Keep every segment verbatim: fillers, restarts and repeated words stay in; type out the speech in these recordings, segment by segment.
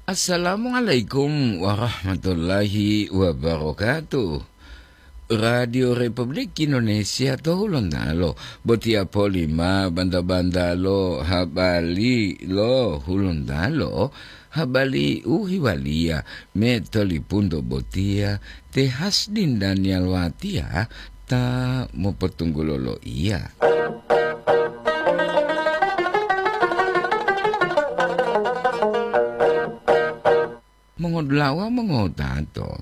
Assalamualaikum warahmatullahi wabarakatuh. Radio Republik Indonesia to Hulontalo, botiya poli ma banta-bantalo habari lo Hulontalo, habari u hiwaliya me tolipunto botiya te Hasdin Daniel Watiya ta mopotunggulo loiya. Mongodulawa mongotato,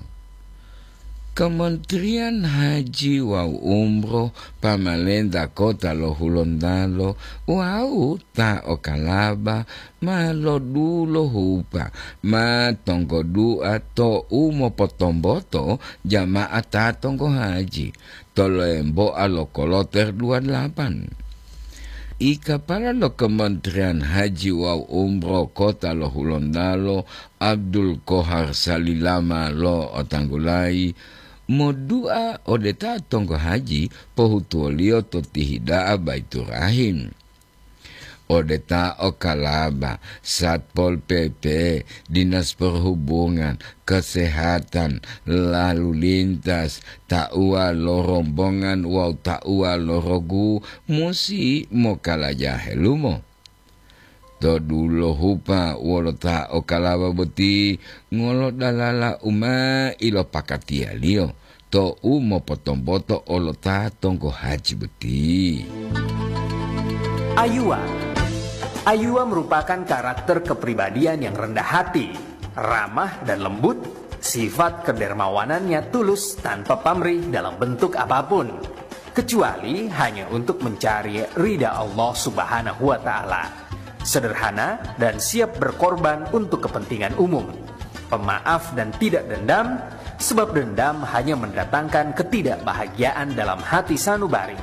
Kementerian Haji wawu Umroh pamalenta kota lo Hulontalo wawu ta o Kalaba ma lodulohupa ma tonggodu'a to u mopotomboto jama'at ta tonggo haji to lemboa lo koloter dua delapan. I kapala lo Kementerian Haji wawu Umroh kota lo Hulontalo, Abdul Kohar Salilama lo otanggulayi, modu'a ode ta tonggo haji pohutuwoliyo to tihida'a Baiturahim. Ode ta o Kalaba, Satpol P P, Dinas Perhubungan, Kesehatan, Lalu Lintas, tauwa lo rombongan wawu tauwa lo rogu musi mokalaja helumo. To dulohupa wolo ta o Kalaba boti ngolodalala u ma ilopakatiyaliyo to u mopotomboto olo ta tonggo haji boti. Ayuwa. Ayuwa merupakan karakter kepribadian yang rendah hati, ramah dan lembut, sifat kedermawanannya tulus tanpa pamrih dalam bentuk apapun, kecuali hanya untuk mencari ridha Allah Subhanahu wa Ta'ala. Sederhana dan siap berkorban untuk kepentingan umum. Pemaaf dan tidak dendam, sebab dendam hanya mendatangkan ketidakbahagiaan dalam hati sanubari.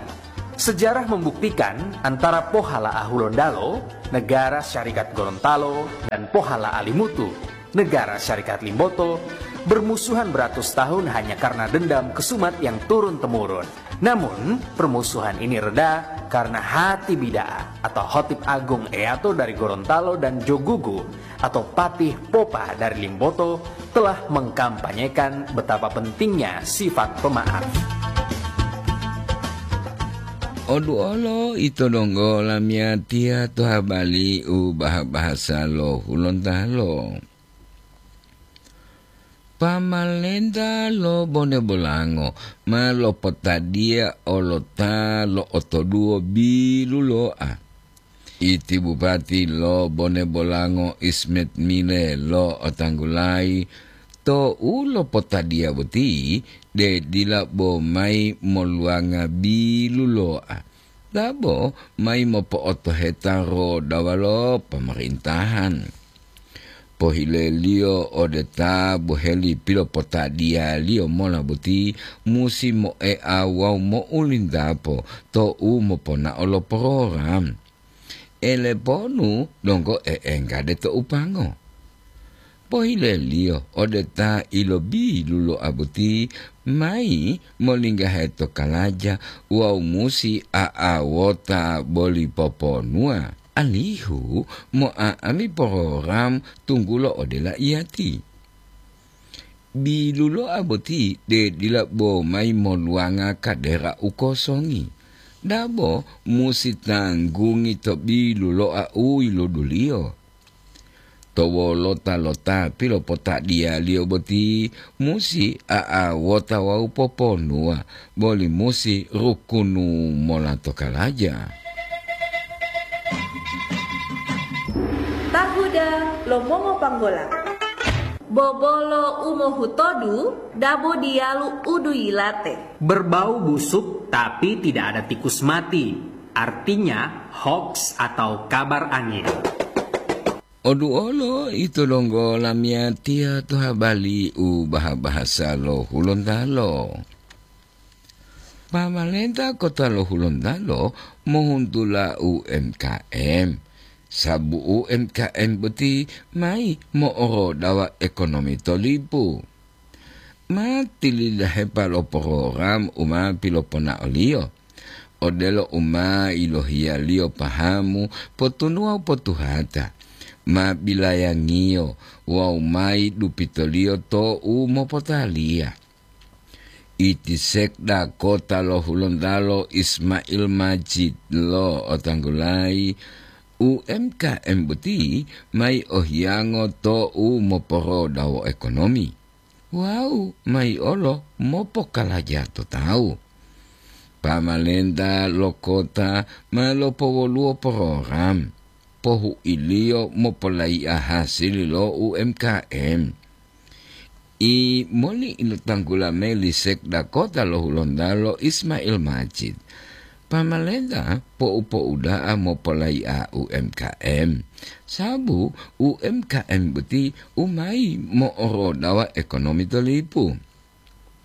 Sejarah membuktikan antara Pohala Ahulondalo, Negara Syarikat Gorontalo, dan Pohala Alimutu, Negara Syarikat Limboto, bermusuhan beratus tahun hanya karena dendam kesumat yang turun-temurun. Namun, permusuhan ini reda karena hati bida'a atau Khotib Agung Eyato dari Gorontalo dan Jogugu atau Patih Popa dari Limboto telah mengkampanyekan betapa pentingnya sifat pemaaf. Oduolo ito donggo lamiyatiya to habari u baha-bahasa lo Hulontalo. Pamalenta lo Bone Bolango ma lopotadiya olota lo otoduwo bilulo'a. Iti Bupati lo Bone Bolango Ismet Mile lo otanggulayi to u lopotadiya boti de dila bo mayi moluwanga bilulo'a, dabo mayi mopo'otoheta rodawa lo pamarintahan. Pohileliyo ode ta boheli pilopotadiyaliyo mola boti musi moea wawu mo'ulintapo to u moponao lo porogram. Eleponu donggo e'enggade to upango. Pohileliyo ode ta ilobilulo'a boti mayi molinggahe to kalaja wawu musi a'awota boli poponuwa, alihu mo'a'ami porogram tunggulo ode laiyati. Bilulo'a boti de dila bo mayi moluwanga kadera u kosongi, dabo musi tanggungi to bilulo'a u yiluduliyo. To wolota lo ta pilopotadiyaliyo boti musi a'awota wawu poponuwa, boli musi rukunu mola to kalaja. Tahuda lo mongopanggola. Bobolo u mohutodu dabo diyalu u duyilate. Berbau busuk tapi tidak ada tikus mati, artinya hoaks atau kabar angin. Oduolo ito donggo lamiyatiya to habari u baha-bahasa lo Hulontalo. Pamalenta kota lo Hulontalo mohuntula U M K M, sabu U M K M boti mayi mo'orodawa ekonomi to lipu. Ma tilidahepa lo porogram u ma piloponaoliyo, odelo u ma yilohiyaliyo pahamu potunuwa u potuhata, ma bilayangiyo wawu mayi dupitoliyo to'u mopotaliya. Iti sekda kota lo Hulontalo Ismail Majid lo otanggulayi, U M K M boti mayi ohiyango to'u moporodawo ekonomi wawu mayi olo mopokalaja to tawu. Pamalenta lo kota ma lopowoluwo program pohuiliyo mopolaiya hasili lo U M K M. I moli ilotanggula meli sekda kota lo Hulontalo Ismail Majid. Pamalenta po'u-po'u da'a mopolaiya U M K M, sabu U M K M boti u mayi mo'orodawa ekonomi to lipu.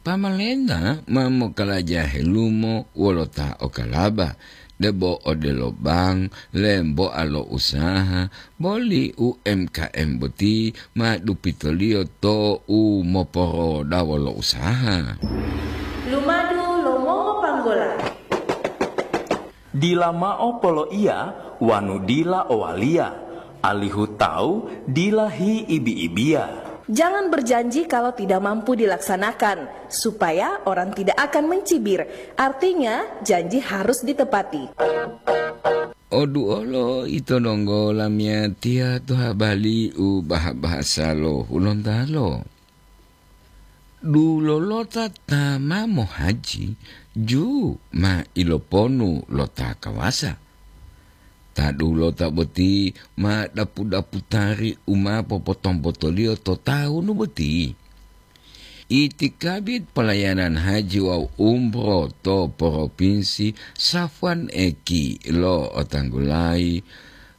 Pamalenta ma mokalaja helumo wolo ta okalaba, debo odelo bank, lemboa lo usaha, boli U M K M boti ma dupitoliyo to'u moporodawo lo usaha. Lumadu lo mongopanggola. Dila mao poloiya wanu dila owaliya, alihu tawu dila hiibi-ibiya. Jangan berjanji kalau tidak mampu dilaksanakan, supaya orang tidak akan mencibir. Artinya, janji harus ditepati. Oduolo ito donggo lamiyatiya to habali u baha-bahasa lo Hulontalo. Dulolota ta ma mohaji, ju ma iloponu lo ta kawasa. Ta dulota boti ma dapu-daputari u ma popotombotoliyo to tawunu boti. Itikabit pelayanan haji wawu umroh to Propinsi Safwan Eki lo otanggulayi,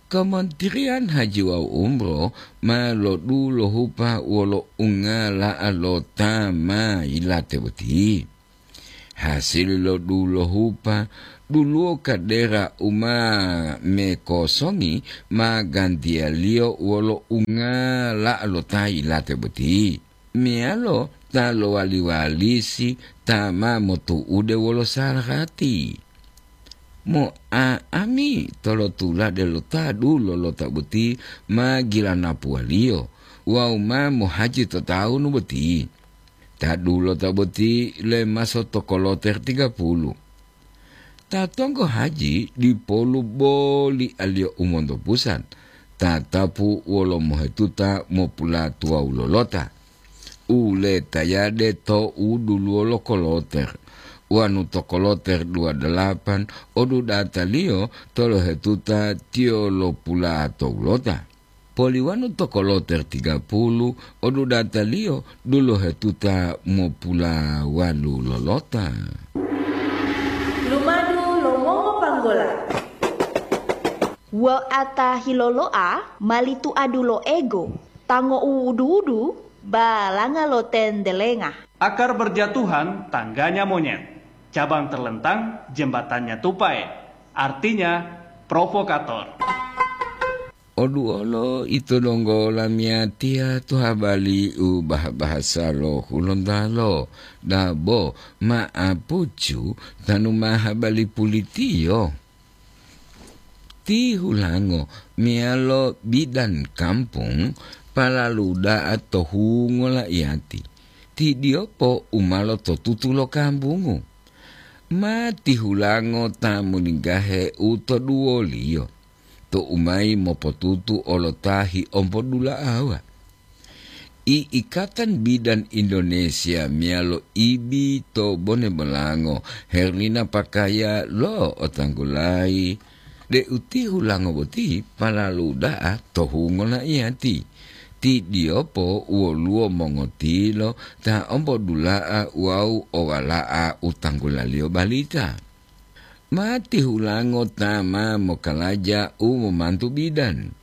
Kementerian Haji wawu Umroh ma lodulohupa wolo ungala'a lo ta ma yilate boti. Hasili lo dulohupa, duluwo kadera u ma mekosongi ma gantiyaliyo wolo ungala'a lo ta yilate boti, meyalo ta lowali-walisi ta ma motu'ude wolo sarati. Mo'a'ami tolotulade lo ta dulolota boti ma gilanapuwaliyo wawu ma mohaji to tawunu boti. Ta dulota boti lemaso to koloter tiga puluh. Ta tonggo haji dipolu boli aliyo u monto pusat, tatapu wolo mohetuta mopulatuwawu lolota. U letayade to u duluwo lo koloter, wanu to koloter dua dalapan, odudataliyo tolohetuta tiyo lopulato ulota. Poliwanu to koloter tiga puluh, odudataliyo duluhetuta mopulawalu lolota. Lumadu lo mongopanggola. Wo'ata hilolo'a mali tuadu lo ego, tango uwudu-wudu, balanga lo tendelenga. Akar berjatuhan tangganya monyet, cabang terlentang jembatannya tupai, artinya provokator. Oduolo ito donggo lamiyatiya to habali u bah-bahasa lo Hulontalo, dabo ma'apucu tanu ma habali pulitiyo. Ti Hulango meyalo bidan kampung palalu da'a to hungo la'iyati. Ti Diyopo u ma lototutu lo kambungu. Ma ti Hulango ta molingga'e u to duwoliyo, to u mayi mopotutu olo ta hiompo dula'awa. I Ikatan Bidan Indonesia meyalo ibi to Bone Bolango, Herlina Pakaya lo otanggulayi deu ti Hulango boti palalu da'a to hungo la'iyati. Ti Diyopo woluwo mongotilo ta ompodula'a wawu owala'a u tanggulaliyo balita. Ma ti Hulango ta ma mokalaja u momantu bidan.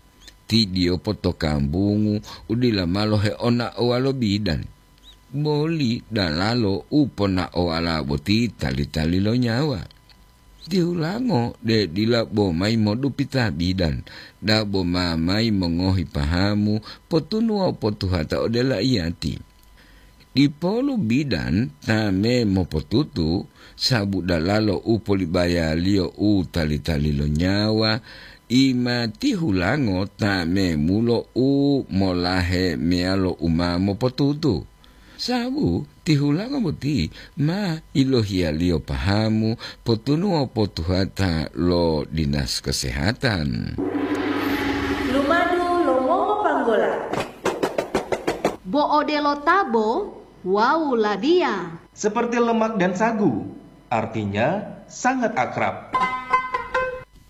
Ti Diyopo to kambungu u dila ma loheonaowa lo bidan, boli dalalo u ponaowala boti tali-tali lo nyawa. Ti Hulango de dila bo mayi modupita bidan, dabo ma mayi mongohi pahamu, potunu wawu potuhata ode la'iyati. Dipolu bidan ta me mopotutu, sabu dalalo u polibayaliyo u tali-tali lo nyawa, Ima tihulango ta memulo u molahe meyalo u ma mopotutu. Sabu tihulango boti ma ilohiyaliyo pahamu potunuwa potuhata lo dinas kesehatan. Lumadu lo mongopanggola. Bo odelo tabo wawu ladiya. Seperti lemak dan sagu, artinya sangat akrab.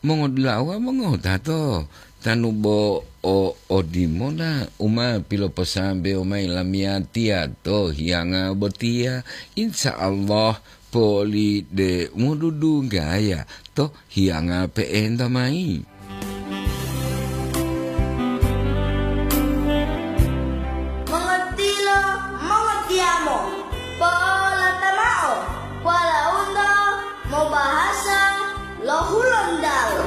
Mongodulawa mongotato, tanu bo o odimona u ma piloposambewo mayi lamiyatiya to hiyanga botiya, insya Allah poli de modudunggaya to hiyanga pe'enta mayi. Mongotilo, mongotiyamo, po'olata mao, walaundo mobahasa lo Hulontalo.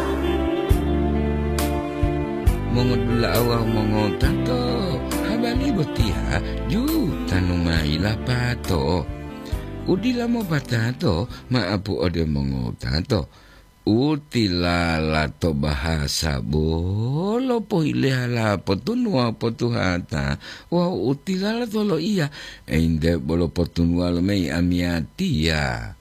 Mongodula'a wawu mongotato, habari botiya ju tanu mayi lapato. U dila mopatato ma'apu ode mongotato. U tilala to bahasa bolo pohilehalapo tunuwa potuhata wawu u tilala to loiya, ente bolo potunuwa lomeyi amiyatiya.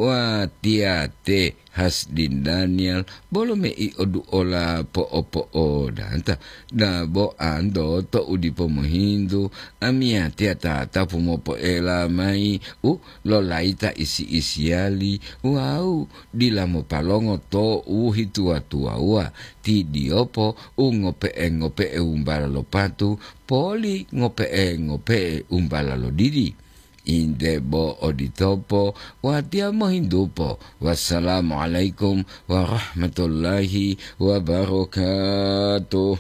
Watiya te Hasdin Daniel bolo mei oduola po'opo'odata, dabo anto to u dipo mohintu, amiyatiya tatapu mopoela mayi u lolayita isi-isiyali wawu dila mopalongo to u hituwa-tuwawuwa, tidiyopo u ngope'e-ngope'e wumbala lo patu, poli ngope'e-ngope'e wumbala lo didi. Inde bo oditopo, watiya mohintupo. Wassalamualaikum warahmatullahi wabarakatuh.